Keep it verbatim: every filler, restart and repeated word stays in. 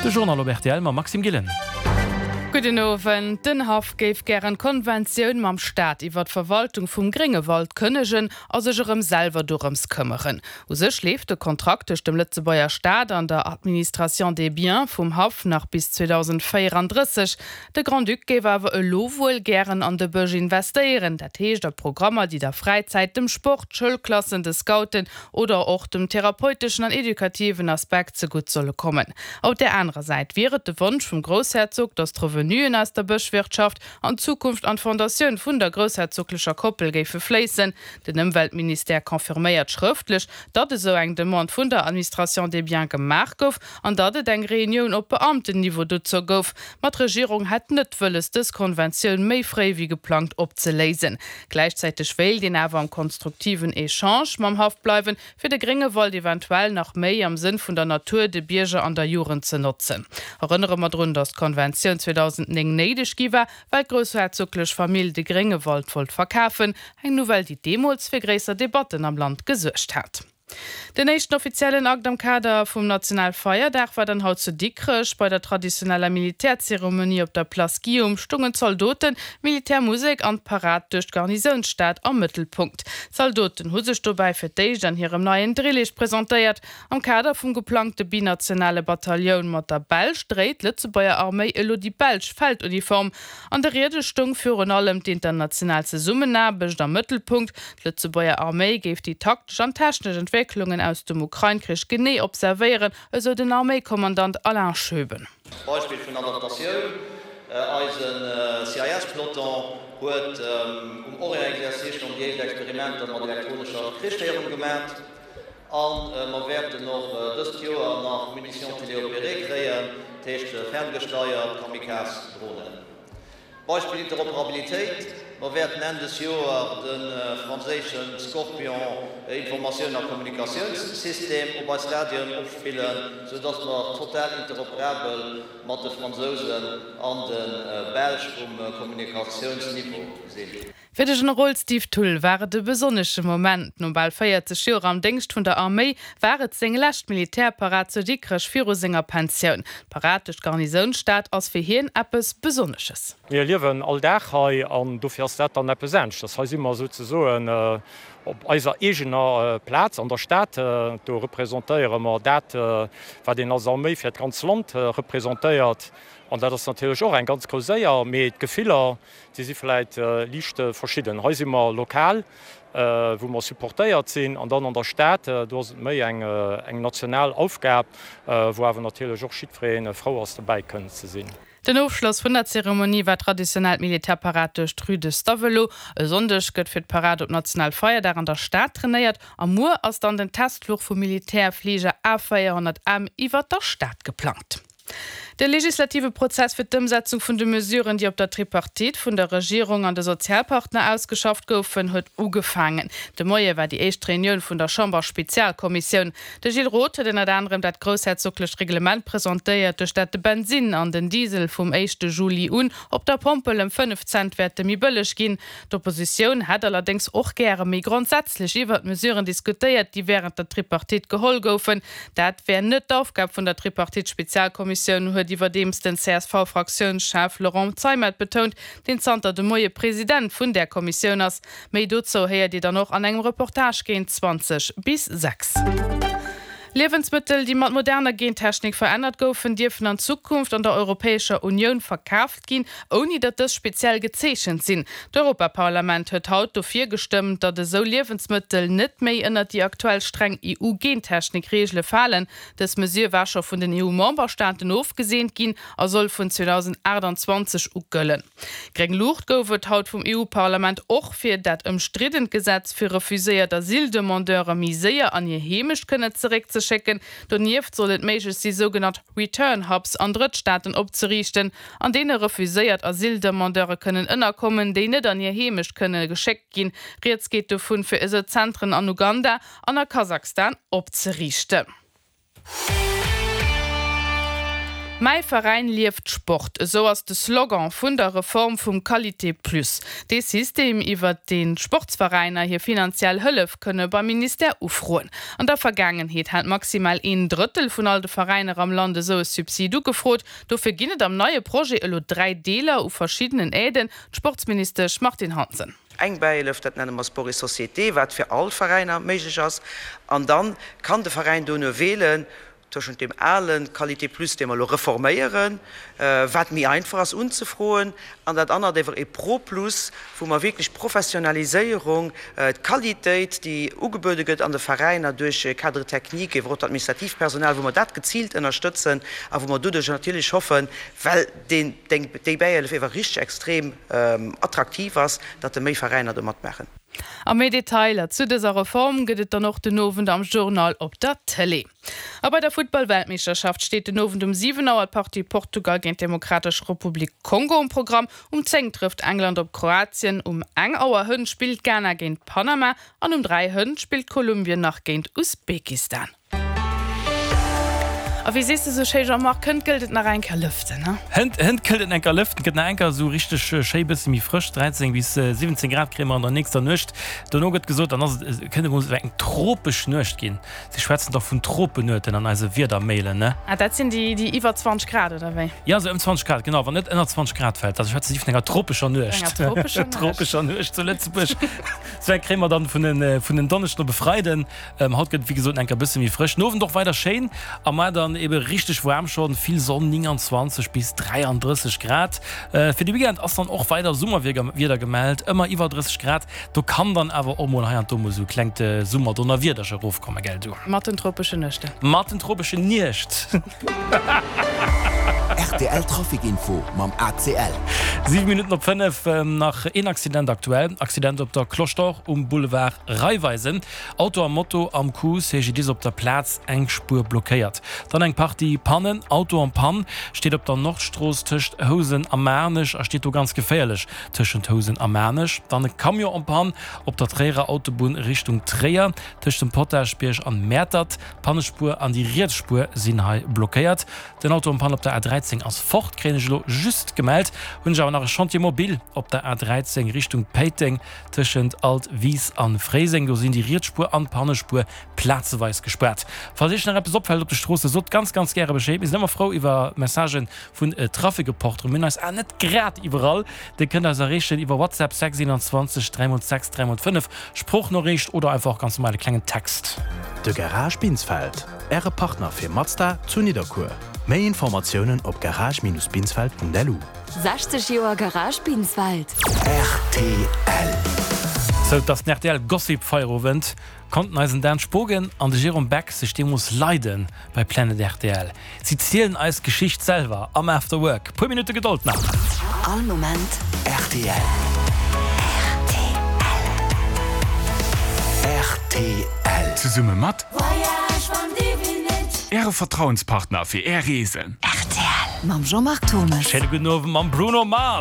De Journal op rtl mam Maxime Gillen. Gudden Owend. Den Haff géif gären d'Konventioun mam Staat iwwer d'Verwaltung vum Gréngewald kënnegen a sech erëm selwer dorëms këmmeren. U sech leeft de Kontrakt tëscht dem Lëtzebuerger Staat an der Administration des biens vum Haff nach bis zweedausendvéierandrësseg. De Grand-Duc géif awer elo wuel gären an de Bësch investéieren, dat heescht a Programmer, déi der Fräizäit, dem Sport, Schoulklassen, de Scouten oder och dem therapeuteschen an edukativen Aspekt zegutt solle kommen. Op där anerer Säit wier et de Wonsch vum Groussherzog, datt d'Revenuen aus der Bëschwirtschaft an Zukunft an d'Fondatioun vun der groussherzoglecher Koppel géife fléissen. Den Ëmweltministère confirméiert schrëftlech, datt esou eng Demande vun der Administration des biens gemaach gouf an datt et eng Reunioun op Beamtenniveau dozou gouf. Ma d'Regierung hätt net wëlles, dës Konventioun méi fréi wéi geplangt opzeléisen. Gläichzäiteg wéilt een awer am konstruktiven Echange mam Haff bleiwen, fir de Gréngewald eventuell nach méi am Sënn vun der Natur, de Bierger an der Jugend ze notzen. Erënnere mer drun, datt d'Konventioun zweedausendnéng néideg gi war, well d'groussherzoglech Famill de Gréngewald wollt verkafen, eng Nouvelle, déi deemools fir gréisser Debatten am Land gesuergt hat. Den éischten offiziellen Akt am Kader vum Nationalfeierdag war dann haut zu Dikrech. Bei der traditioneller Militärzeremonie op der Place Guillaume stungen d'Zaldoten, d'Militärmusek an d'Parad duerch d'Garnisounsstad am Mëttelpunkt. D'Zaldoten hu sech dobäi fir d'éischt an hirem neien Drillich presentéiert. Am Kader vum geplangte binationale Batallioun mat der Belsch dréit d'Lëtzebuerger Arméi elo déi belsch Felduniform. An de Riede stoung virun allem d'international Zesummenaarbecht am Mëttelpunkt. D'Lëtzebuerger Arméi géif déi taktesch an technesch Entwécklungen aus dem Ukrain-Krich genee observéieren, esou den Arméikommandant Alain Schoeben. Beispill vun Adaptatioun, Eise C I S-Peloton huet um Orient-Exercice schonn déi éischt Experimenter mat elektronescher Krichféierung gemat. A mer wäerten och dëst Joer nach Munitions téléopérées kréien, dat heescht ferngesteiert Kamikaze-Dronen. Beispill Interoperabilitéit, Mer wäerten Enn des Joer de franséische Scorpion Informatioun a Kommunikatiounssystem op eis Radioen opspillen, sou dass mer total interoperabel mat de Fransousen an de Belsch um Kommunikatiounsniveau sinn. Fir de Generol Steve Thull war et e besonnesche Moment. No bal véierzeg Joer am Déngscht vun der Arméi war et seng lescht Militärparad zu Dikrech viru senger Pensioun. D'Parad duerch d'Garnisounsstad ass fir hien eppes Besonnesches. Mir liewen all Dag hei an dofir ass dat dann eppes aneschters. Hei si mer souzesoen op eiser eegener Plaz an der Stad. Do representéiere mer dat, wat een als Arméi fir d'ganz Land representéiert. An dat ass natierlech och eng ganz grouss Éier, mee d'Gefiller, déi si vläit liicht verschidden. Hei si mer lokal, wou mer supportéiert sinn, an dann an der Stad, do ass et méi eng national Aufgab, wou awer natierlech och jiddweree frou ass, dobäi kënnen ze sinn. Den Ofschloss vun der Zeremonie war d'traditionell Militärparad duerch d'Rue de Stavelot. E Sonndeg gëtt fir d'Parad op Nationalfeierdag an der Stad trainéiert a muer ass dann den Testfluch vum Militärfliger A véierhonnert M iwwer der Stad geplangt. De legislative Prozess fir d'Ëmsetzung vun de Mesuren, déi op der Tripartite vun der Regierung an de Sozialpartner ausgeschafft goufen, huet ugefaangen. De Moie war déi éischt Reunioun vun der Chamber-Spezialkommissioun. De Gilles Roth huet ënnert anerem dat groussherzoglecht Reglement presentéiert, duerch dat de Bensinn an den Diesel vum éischte Juli un op der Pompel ëm fënnef Cent wäerte méi bëlleg ginn. D'Oppositioun hätt allerdéngs och gäre méi grondsätzlech iwwert d'Mesuren diskutéiert, déi wärend der Tripartite geholl goufen. Dat wär net d'Aufgab vun der Tripartite-Spezialkommissioun, huet iwwerdeems den C S V-Fraktiounschef Laurent Zeimet betount, deen zanter de Moie President vun där Kommissioun ass. Méi dozou héiert Dir dann och an engem Reportage géint zwanzeg bis sechs. Liewensmëttel, déi mat moderner Gentechnik verännert goufen, dierfen an Zukunft an der Europäescher Unioun verkaaft ginn, ouni datt dës speziell gezeechent sinn. D'Europaparlament huet haut dofir gestëmmt, datt esou Liewensmëttel net méi ënnert déi aktuell streng E U-Gentechnik-Reegele falen. Dës Mesure war scho vun den E U-Memberstaaten ofgeseent ginn a soll vun zweedausendachtanzwanzeg u gëllen. Gréng Luucht gouf et haut vum E U-Parlament och fir dat ëmstriddent Gesetz, fir refuséiert Asyldemandeure méi séier an hir Heemecht kënnen zeréckzeschécken. Donieft soll et méiglech si sougenannt Return Hubs an Drëttstaaten opzeriichten, an deene refuséiert Asyldemandeure kënnen ënnerkommen, déi net an hir Heemecht kënne geschéckt ginn. Rieds geet dovun, fir esou Zentren an Uganda an a Kasachstan opzeriichten. Mäi Veräin lieft Sport, esou ass de Slogan vun der Reform vum Qualité Plus. Dee System, iwwert deen d'Sportsveräiner hir finanziell Hëllef kënne beim Ministère ufroen. An der Vergaangenheet hat maximal een Drëttel vun all de Veräiner am Land esou e Subsid ugefrot. Dofir ginn et am neie Projet elo dräi Deeler u verschiddenen Aiden. D'Sportsministesch Martine Hansen. Eng Bäihëllef, dat nenne mer Sport et Société, wat fir all Veräiner méiglech ass. An da kann de Veräin dono wielen tëschent deem ale Qualité Plus, dee mer elo reforméieren, wat méi einfach ass unzefroen, an dat anert ewer e Pro Plus, wou mer wierklech d'Professionaliséierung, d'Qualitéit, déi ugebuede gëtt an de Veräiner duerch Cadre technique, ewer och d'administratiivt Personal, wou mer dat geziilt ënnerstëtzen a wou mer doduerch natierlech hoffen, well deen, déi Bäihëllef ewer richteg extrem attraktiv ass, datt méi Veräiner do matmaachen. A méi Detailer zu dëser Reform gëtt et dann och den Owend am Journal op der Tëlee. A bei der Futtball-Weltmeeschterschaft steet den Owend um siwen Auer d'Partie Portugal géint d'Demokratesch Republik Kongo um Programm. Um zéng trëfft England op Kroatien, um eng Auer hënt spillt Ghana géint Panama an um dräi hënt spillt Kolumbien nach géint Usbekistan. A wéi sees de sou schéi, Jean-Marc, hënt gëllt et nach eng Kéier lëften, ne? Hënt, hënt gëllt et eng Kéier lëften, gëtt nach eng Kéier sou richteg schéi bësse méi frësch, dräizéng bis siwwenzéng Grad kréie mer an der nächster Nuecht. Dono gëtt gesot, dann ass et, kënnt emol sou eng tropesch Nuecht ginn. Si schwätzen dach vun Tropenueten an eise Wiedermailen, ne? Ah, dat sinn déi, déi iwwer zwanzeg Grad, oder wéi? Jo, sou ëm zwanzeg Grad, genau, wann net ënner zwanzeg Grad fält. Da schwätze si vun enger tropescher Nuecht. Enger tropescher Nuecht. Tropescher Nuecht zu Lëtzebuerg. Sou eng kréie mer dann vun en, vun en Donneschden op e Freiden. Haut gëtt et, wéi gesot, eng Kéier bësse méi frësch. Den Owend och weider schéin a mar dann ebe richteg waarm schonn, vill Sonn, neunundzwanzeg bis dräianddrësseg Grad. Fir de Weekend ass dann och weider Summerwieder gemellt, ëmmer iwwer drësseg Grad. Do kann dann awer och mol hei an do mol sou e klengt Summerdonnerwiederche erofkommen, gell du? Mat den tropeschen Nuechten. Mat den tropeschen Niecht. Rtl Trafic Info mam A C L. Siwe Minutten op fënnef, nach een Accident aktuell. Accident op der Cloche d'Or um Boulevard Raiffeisen. Auto a Moto am Coup, C G D I S op der Plaz, eng Spuer blockéiert. Dann eng Partie Pannen, Auto en panne steet op der Nordstrooss tëscht Housen a Maarnech a steet do ganz geféierlech tëschent Housen a Maarnech. Dann e Camion en panne op der Tréierer Autobunn Richtung Tréier tëscht dem Potaschbierg an Mäertert. D'Pannespuer an déi riets Spuer sinn hei blockéiert. Den Auto en panne op der A dräizéng ass fort, kréien ech elo just gemellt. Hunn ech awer nach e Chantier mobile op der A dräizéng Richtung Péiteng tëschent Altwis an Fréiseng. Do sinn déi riets Spuer an d'Pannespuer plazeweis gespaart. Falls iech nach eppes opfält op de Stroosse, sot ganz ganz gäre Bescheed. Mir sinn ëmmer frou iwwer Messagen vun Trafic-Reporteren. Mir hunn eis Aen net grad iwwerall. Dir kënnt eis erreechen iwwer WhatsApp sechs einundzwanzeg dräi mol sechs dräi mol fënnef, Sproochnoriicht oder einfach ganz normal e klengen Text. De Garage Binsfeld, Äre Partner fir Mazda zu Nidderkuer. Méi Informatiounen op garage-binsfeld Punkt L U. sechzeg Joer Garage Binsfeld. R T L. Sou, et ass den R T L Gossip Feierowend. Konnten eisen Dan Spogen an de Jérôme Beck sech deemools leiden bei Planet R T L? Si zielen eis d'Geschicht selwer am After Work. Puer Minutte Gedold nach. All Moment R T L. R T L. R T L. Zesumme mat Äre Vertrauenspartner fir Är Reesen. R T L. Mam Jean-Marc Thomes. Schéine gudden Owend mam Bruno Mars.